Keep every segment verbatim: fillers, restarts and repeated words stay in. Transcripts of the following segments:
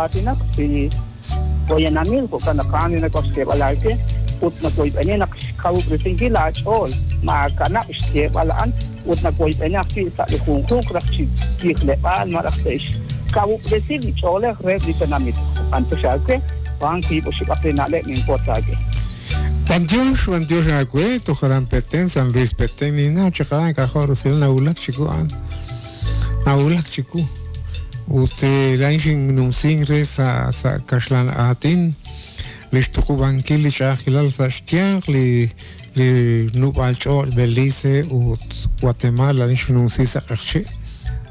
Aatinak li poyanamil jo'kan naq a'an li nak'ox xyeeb'al aawe ut nawoyb'eni naq xkawub'resinkil aach'ool maakanab' xyeeb'al a'an ut nawoyb'eni ajwi' sa' li junjunq raj chi tijleb'aal malaj te'xkawub'resi li ch'oolej reheb' li tenamit. Antes aawe wan wiib' oxib'aq li na'leb' ninwotz aawe. Bantiox, bantiox aawe, tojaran Petén, San Luis Petén, ninaw chaqaran k'ajo' rusil nawulak chiku a'an. Nawulak chiku. Ut laa'in xinnumsin re sa' sa' kaxlan aatin li xtuqub'ankil li ch'a'ajkilal sa' xyanq li li nub'aal ch'och' Belice ut Guatemala laa'in xinnumsi sa' q'eqchi'.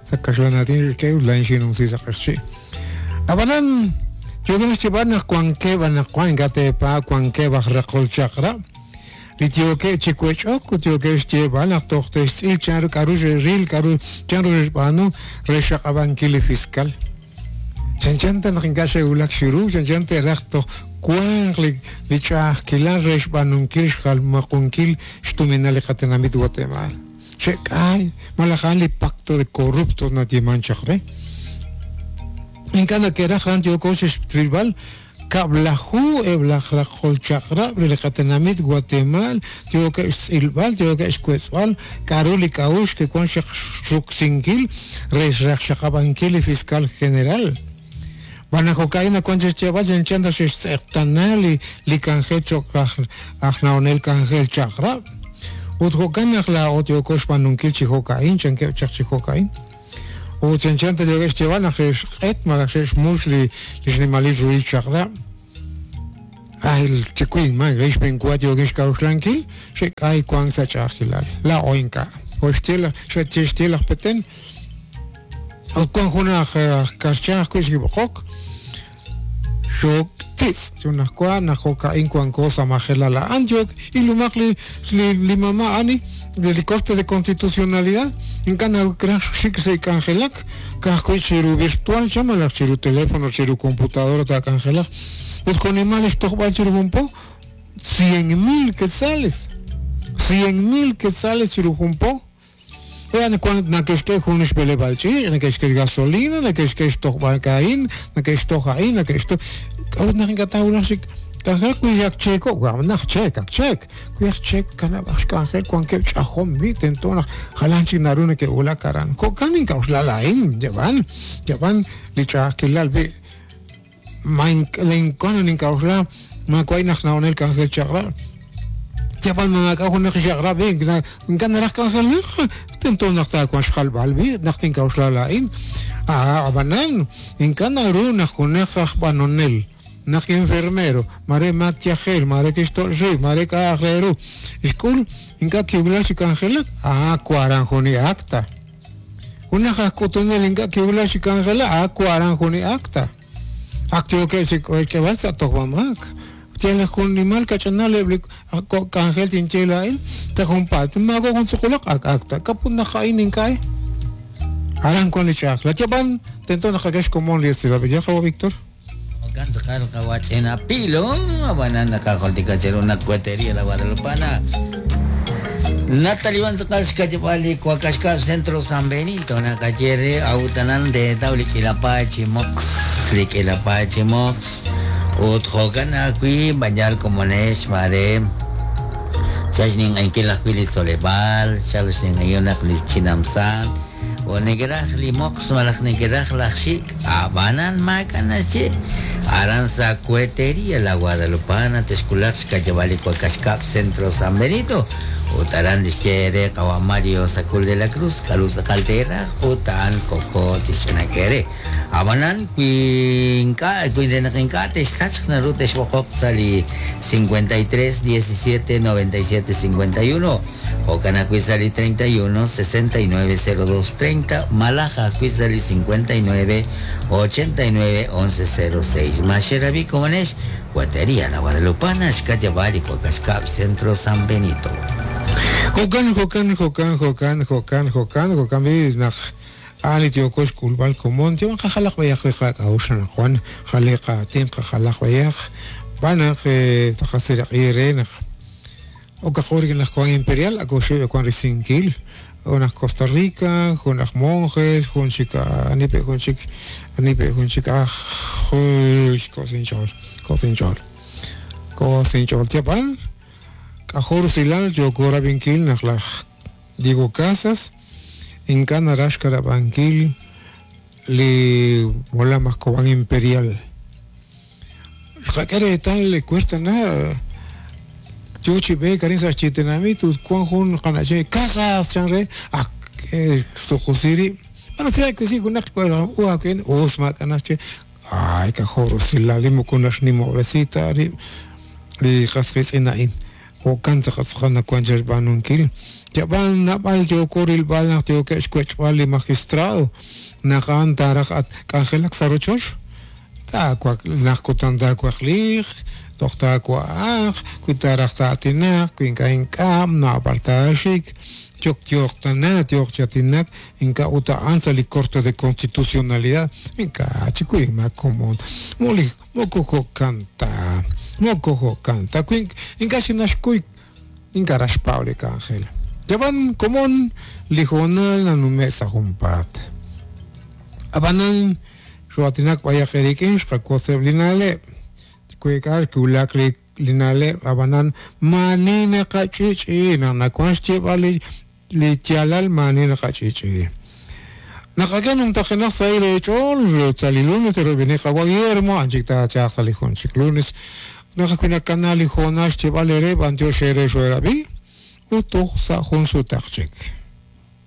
Sa' kaxlan aatin rik'in laa'in xinnumsi sa' q'eqchi'. Ab'anan yookeb' xyeeb'al naq wankeb' anaqwan ink'a' teepa wankeb' aj raqol chaq'rab' li yookeb' chi wech'ok ut yookeb' xyeeb'al naq toj te'xtz'il chanru k'a'ru xe'ril k'a'ru chanru xe'xb'aanu re xaqab'ankil li fiscal. Chanchan ta naq ink'a' xe'wulak chiru, chanchan te'raj toj wanq li li ch'a'ajkilal re xb'aanunkil xjalmaqunkil xtuminal li qatenamit Guatemala. Xe'k'ay malaj a'an li pacto de corruptos nayeeman chaq re. Ink'a' nake'raj a'an yooko xe'xrilb'al kab'laju eb' laj raqol chaq'rab' re li qatenamit Guatemala yookeb' xtz'ilb'al yookeb' xwetz'b'al k'a'ru li k'a'uxl ke'wan xruksinkil re xraqxaqab'ankil li fiscal general. B'an jo'ka'in nawan chixyeeb'al chanchan ta xe'xtz'eqtana li li k'anjel cho'q aj aj na'onel k'anjel chaq'rab'. Ut jo'kan naq laa'o yooko xb'aanunkil chi jo'ka'in chankeb' chaq chi jo'ka'in. Ut chanchan ta yookeb' xyeeb'al naq xe'xq'et malaj xe'xmux li li xnimalil ruhil chaq'rab'. Ay, chikuin man, rix benkuat yookeb' xk'a'uxlankil xe'k'ay wank sa' ch'a'ajkilal. Laa'o ink'a'. Jo' xye laj xe'xye laj Petén. Ut wan jun aj aj karcha ajwi' xkib'oqok xoktitz' chunajwa naq jo'ka'in wanko sa' majelal a'an yook ilumaq li li li mama ani de li Corte de Constitucionalidad ink'a' nakraj xik sa' k'anjelak ka'ajwi' chiru virtual cha malaj chiru teléfono chiru computadora taak'anjelaq ut konimal li xtojb'al chiru jun po cien mil quetzales cien mil quetzales chiru jun po. Ean cuan nake'xk'e jun xb'eleb'aal ch'iich', nake'xk'e gasolina, nake'xk'e xtojb'al ka'in, nake'xtoj a'in, nake'xtoj k'a'ut naq ink'a' taawulaq xik k'anjelak wi ak cheeko, wa naq cheek, ak cheek. Wi ak cheek kanab'aj xk'anjel wankeb' ch'ajom bi tento naq jalan chik naru neke'wulak aran. Jo'kan ink'a'uxlal a'in, yab'an, yab'an li ch'a'ajkilal bi ma linkuan nink'a'uxla maawa' naq na'onel k'anjel chaq'rab'. Yab'an maak'a' junaq xaq'rab' ink'a' naraj k'anjelaq tento naq taawanq xjalb'al bi naq tink'a'uxlal a'in. Ah, ab'anan ink'a' naru naq junaq aj b'anonel naq enfermero mare maak yajel mare kixto'x rib' mare k'a'aj re ru xk'ul ink'a' kiwulak chi k'anjelak ah waran jun li acta. Junaq aj k'utunel ink'a' kiwulak chi k'anjelak ah waran jun li acta. Ak yookeb' chi k'eeb'al sa' tojb'amaak. Tiene jun nimal kach'anal eb' li k'anjel tinye laa'in ta junpaat maawa' jun tzuqulaq ak acta kaput naq a'in ink'a' aran wan li ch'a'ajkilal. Yab'an tento naq qak'e xkomon li esilal. Ya qawa Víctor. Jo'kan tz'aqal qawach'ina pilo ab'anan naqajultika chiru naq cuetería la Guadalupana. Natalie wan tz'aqal xkach'b'al li Cuacaxcab Centro San Benito naqaye awtanan de taw li k'ilapachi mox li k'ilapachi mox ut jo'kan ajwi' b'ayal komonex mare xaxninq'enkil ajwi' li tzoleb'aal xal xninq'enkil naq li chinamsan o nekeraj li mox malaj nekeraj laj xik ab'anan maak'a' naxye aran sa' cuetería la Guadalupana texkulaq xkach'b'al li Cuacaxcab Centro San Benito ut aran lixye re qawa Mario Sacul de la Cruz k'aru tz'aqal teeraj ut a'an koko tixch'inak'e re ab'anan wi ink'a' wi naq ink'a' texsachq naru texb'oqoq sa' li cincuenta y tres diecisiete noventa y siete cincuenta y uno jo'kan ajwi' sa' li treinta y uno sesenta y nueve cero dos treinta malaj ajwi' sa' li cincuenta y nueve ochenta y nueve once cero seis Maxerabi komonex Cuetería La Guadalupana xkach'b'al li Cuacaxcab Centro San Benito. Jo'kan, jo'kan, jo'kan, jo'kan, jo'kan, jo'kan, jo'kan bi naq a'an li yooko xk'ulb'al komon yab'an qajalaq b'ayaq li qak'a'uxl anaqwan jal li qaatin qajalaq b'ayaq b'an naq taqasiraq'i re naq okaqo rik'in laj Juan Imperial ak oxib' wan risinkil jun aj Costa Rica, jun aj monjes, jun chik anipe jun chik anipe jun chik aj Juy, kosinchol, kosinchol. Kosinchol tiapal. K'ajor silal yokora binkil naq laj Diego Casas inka narax karabankil li molam aj Cobán Imperial. Xqak'e tal le cuesta na yochi be karin sa xchitenamit ut kuan jun qanache Casas chanre ak sujusiri. Bueno, si que sí kunaq ua ken osma kanache ay k'ajor usilal li moko naxnimob'resita ri li qasqitz'ina'in jo'kan tz'aqatz'aqan nakuan xb'aanunkil yab'an nab'al yokoril b'al naq tioke'x kuech'b'al li magistrado naqan taraj at k'anjelak sa rochoch taakuaq naq kutan taakuaqliq toj taakua'aq kui taraj ta'atinaq kui ink'a' ink'am nab'al taaxik yoq yoqtana tioq chatinak ink'a' uta'an sa li Corte de Constitucionalidad ink'a' chikuy ma komon moli moko jo'kan ta moko jo'kan ta kui ink'a' xinaxkuy ink'a' raxpaw li k'anjel yab'an komon li hoonal nanume' sa junpaat ab'anan xuatinak b'ayaq erik'in xqakoseb' li na'leb' kuek'ar kiwulak li li na'leb' ab'anan maani naqach'ich'i naq nakuan xyeb'al li li yaalal maani naqach'ich'i naqak'e numtajenaq sa irech'ool sa li lunes terob'ini qawa Guillermo anchik taachaq sa li jun chik lunes naqak'e nakanal li hoonal xyeb'al ere b'antiox ere xoerab'i ut toj sa jun sutaq chik.